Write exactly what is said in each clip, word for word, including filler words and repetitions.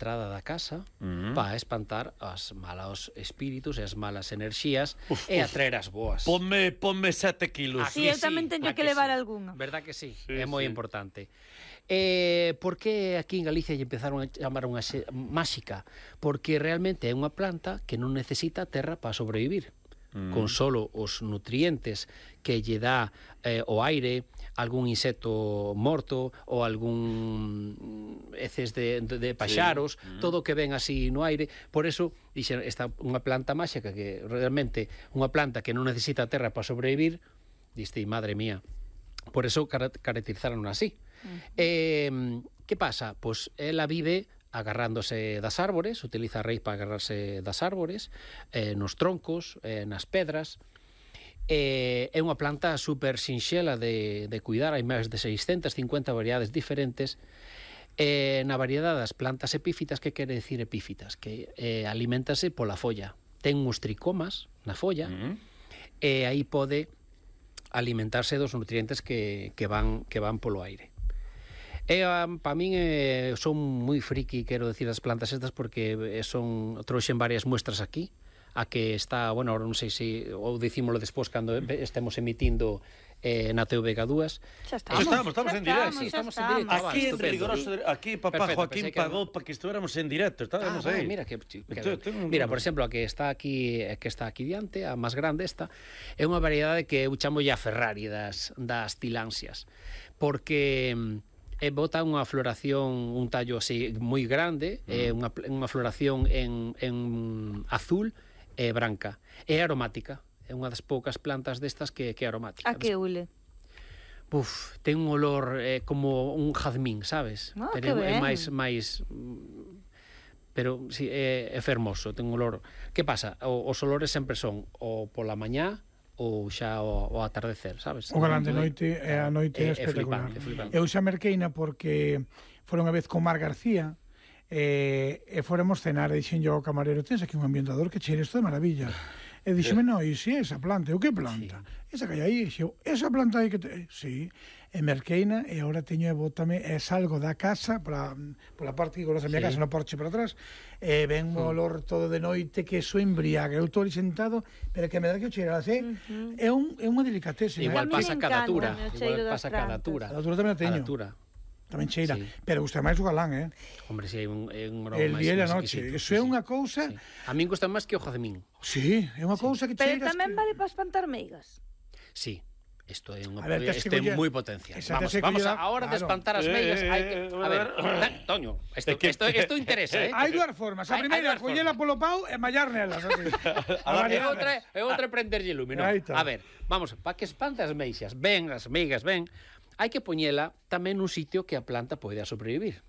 entrada da casa Uh-huh. para espantar as malos espíritus e as malas enerxías Uf, e uf. atraer as boas. Ponme, ponme sete kilos. Ah, Sí, eu tamén teño ah, que levar sí. algunha. Verdad que sí? Sí, É moi sí. importante. Eh, por que aquí en Galicia lle empezaron a chamar unha xe- máxica? Porque realmente é unha planta que non necesita terra para sobrevivir. Mm. Con solo os nutrientes que lle dá eh, o aire, algún insecto morto ou algún heces de, de, de paxaros, sí. mm. todo o que ven así no aire. Por eso, dixen, esta unha planta máxica que realmente unha planta que non necesita terra para sobrevivir, diste, madre mía. Por eso car caracterizaron así. Uh-huh. Eh, que pasa? Pois ela vive agarrándose das árbores, utiliza a raíz para agarrarse das árbores, eh, nos troncos, eh, nas pedras. Eh, é unha planta super sinxela de, de cuidar, hai máis de seiscentas cincuenta variedades diferentes. Eh, na variedade das plantas epífitas, que quere decir epífitas? Que eh, alimentase pola folla. Ten uns tricomas na folla, uh-huh. e aí pode alimentarse dos nutrientes que, que, van, que van polo aire. E, um, para min, eh, son moi friki, quero decir, das plantas estas, porque eh, son, trouxen varias muestras aquí, a que está, bueno, ahora non sei se, ou dicímolo despois cando estemos emitindo eh, na T V G dúas. Xa estamos, estamos, estamos xa en directo. estamos, Sí, estamos xa en directo. estamos. Aquí en estupendo. rigoroso, aquí papá Perfecto, Joaquín pensei que pagou para que estuviéramos en directo, estábamos Ah, aí. mira, que, que, Yo tengo un- mira, por exemplo, a que está aquí, a que está aquí diante, a máis grande esta, é unha variedade que eu chamo a Ferrari das, das tilánsias, porque mm, e bota unha floración, un tallo así moi grande, mm. é unha, unha floración en, en azul e branca, é aromática, é unha das poucas plantas destas que, que é aromática. A que ule? Buf, ten un olor eh, como un jazmín, sabes? Ah, pero que é ben. máis máis mm, pero si sí, é, é fermoso, ten un olor. Que pasa? O, os olores sempre son o pola mañá ou xa o, o atardecer, sabes? O galán de noite e a noite é É- é espectacular. flipante, é flipante. Eu xa merqueina porque fora unha vez con Mar García e, e fóramos cenar e dixen yo ao camarero, tens aquí un ambientador que cheira isto de maravilla. E dixeme, no, e si esa planta, eu que planta? Sí. Esa que hai aí, xeo, esa planta aí que te... Sí, e merqueina, e agora teño e bótame, e salgo da casa, para, pola parte que conoce a miña Sí. casa, no porche para atrás, e ven un olor todo de noite que eso embriaga. Eu estou ali sentado, pero que me dá que o cheira, así, uh-huh. é, un, é unha delicatese. Igual A mí me pasa cada encanta tura, o igual cheiro das pasa cada plantas. tura. A altura tamén a teño. Cada tura. Tamén cheira, Sí. pero gusta máis o galán, eh? Hombre, si hai un, é un aroma El máis- día e a máis noche, exquisito, eso sí, é sí. unha cousa... Sí. A min gusta máis que o jazmín. Sí, é unha cousa que Pero cheiras tamén que... vale para espantar meigas. Sí. Isto é unha A ver, tes que isto é coller- moi potencial. Esa Vamos, tes que vamos coller- a hora de claro. espantar as Eh, meigas, hai que eh, a ver, Toño, isto É que- isto isto interesa, eh? Hai dúas formas. A Hai- primeira, hai dúas collela formas. polo pau e mallar nelas. Así. A E variar. outra, e outra prenderlle lume, non? Aí está. A ver, vamos, para que espante as meixas, ben, as meigas, ben, hai que poñela tamén nun sitio que a planta poida sobrevivir.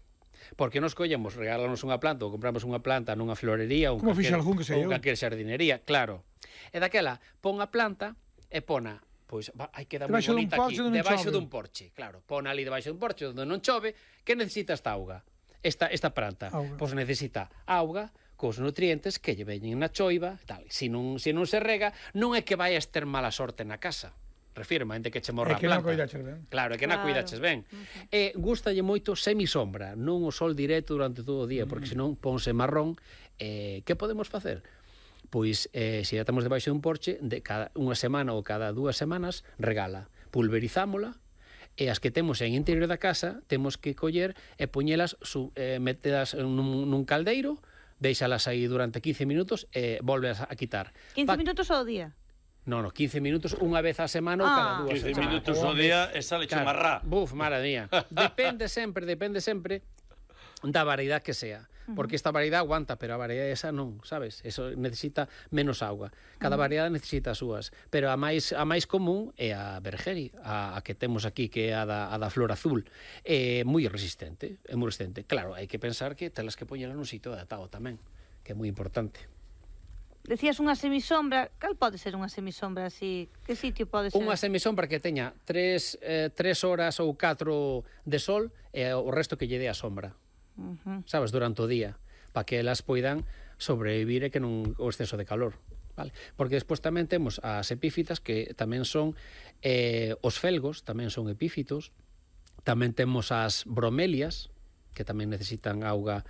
Porque nos collemos, regálanos unha planta ou compramos unha planta nunha florería ou Como fixe algún que sei ou eu. calquer xardinería, claro. E daquela, pon a planta e pona, pois va, hai que dar moi Debaixo dun bonita aquí, porche onde non debaixo chove. dun porche, claro. Pon ali debaixo dun porche onde non chove, que necesita esta auga? Esta esta planta, Auga. pois necesita auga cos nutrientes que lle veñen na choiva, tal. Se non se non se rega, non é que vaias ter mala sorte na casa. Refirma, ente que che morra É a que non planta. coidaches ben. Claro, é que non Claro. cuidaches ben. Uh-huh. E gustalle moito semisombra, non o sol directo durante todo o día, porque senón ponse marrón. Eh, que podemos facer? Pois, eh, se ya estamos debaixo dun porche, de cada unha semana ou cada dúas semanas, regala. Pulverizámola, e as que temos en interior da casa, temos que coller e poñelas, su, eh, metelas nun, nun caldeiro, deixalas aí durante quince minutos e volvelas a quitar. quince Pa- minutos ao día. No, no, quince minutos unha vez a semana ou cada Ah. dúas quince semanas. minutos ao día e sale che marrá. Buf, mara mía. Depende sempre, depende sempre da variedade que sea. Porque esta variedade aguanta, pero a variedade esa non, sabes? Eso necesita menos auga. Cada variedade necesita as súas. Pero a máis a máis común é a Bergeri, a, a que temos aquí, que é a da, a da flor azul. É moi resistente, é moi resistente. Claro, hai que pensar que telas que poñela nun sitio adaptado tamén, que é moi importante. Decías unha semisombra, cal pode ser unha semisombra así? Que sitio pode ser? Unha semisombra que teña tres, eh, tres horas ou catro de sol e o resto que lle dé a sombra. Uh-huh. Sabes, durante o día, para que elas poidan sobrevivir e que non o exceso de calor, vale? Porque despois tamén temos as epífitas, que tamén son eh, os felgos, tamén son epífitos, tamén temos as bromelias, que tamén necesitan auga